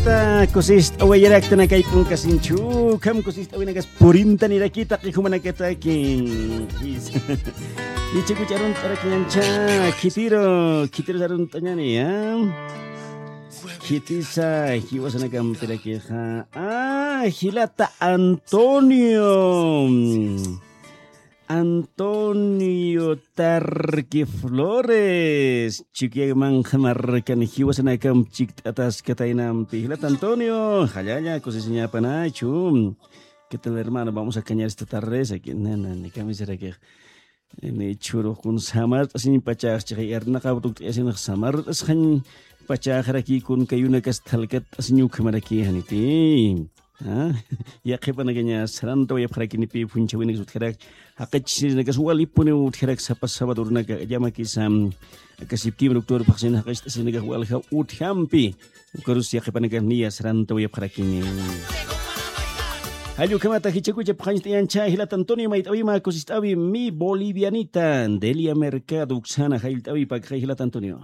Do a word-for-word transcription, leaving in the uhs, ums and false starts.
Ta kusist'awayaraktan akay p'unkasinchu, ukham kusist'awinakas purintaniraki taqi jumanakataki. Ichakuch arunt'arakiñancha, khitiru, khitirus arunt'añani, ¿a? Khitisa jiwasanakampirakixa. Ah, jilata Antonio. Antonio Tarqui Flores, Chukiyamanqa markan jiwasanakamp chikt'ataskataynampi. Jilata Antonio, jallalla, kusisiñapanachu. ¿Qué tal, hermano? Vamos a cañar esta tarde, esa que, na, na, ni camisera que. Ni churux kun samart'asiñ pachax chiqay arnaqaw tukt'ayasinx samart'asxañ pachaxaraki kun kayunakas thalkat'asiñ ukhamaraki janiti. ¿A? Yaqhipanakaña sarantawayapxarakinipi, phunchhawinakas utjarak, jaqichisinakas walipuniw utjarak, sapa sabadorunaka llamakisa, aka septiembre, octubre phaxsin jaqist'asinakax walja utjampi. Ukarus yaqhipanakax niya sarantawayapxarakini. Jall ukhamata jichakucha phaxañcht'ayancha, jilata Antonio mayt'awima kusist'awi mi bolivianita, Delia Mercado uksana jallt'awi pakxay jilata Antonio.